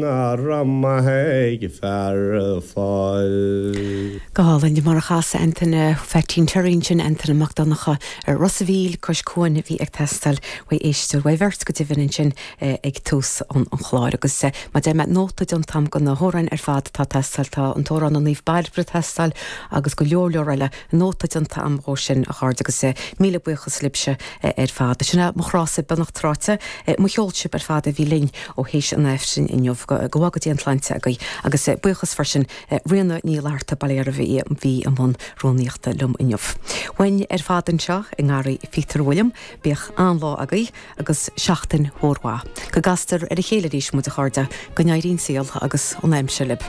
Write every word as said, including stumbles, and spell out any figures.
Nach raibh maith ag fear fáil. Go hálainn mar a chas Antaine Pheaitín Terry sin Antaine Mac Donncha ar Ros an Mhíl cois cuain a bhí ag teastáil uaidh éisteoir uaidh bheirt go deimhin ansin ag tús an an chláir agus mar deir mé nóta déanta agam de na hamhráin ar fad atá ag teastáil tá an t-amhrán an Naomh Bairbre ag teastáil agus go leor leor eile nóta déanta agam dhó sin a chairde agus míle buíochas libhse ar fad. Sin é mo chrása beannacht ráite mo cheol sibh ar fad a bhí linn ó théis an Aifrinn inniu go bhfága Dia an tsláinte agaibh agus buíochas freisin Ríona Ní Fhlatharta Baile bhí bhí i mbun rúnaíochta liom inniu. Uainn ar fad anseo i ngarraí Peter William, bíodh an-lá agaibh agus seachtain mhór mhaith. Go gcastar ar a chéile arís muid a chairde go n-éirí an saol agus an aimsir libh.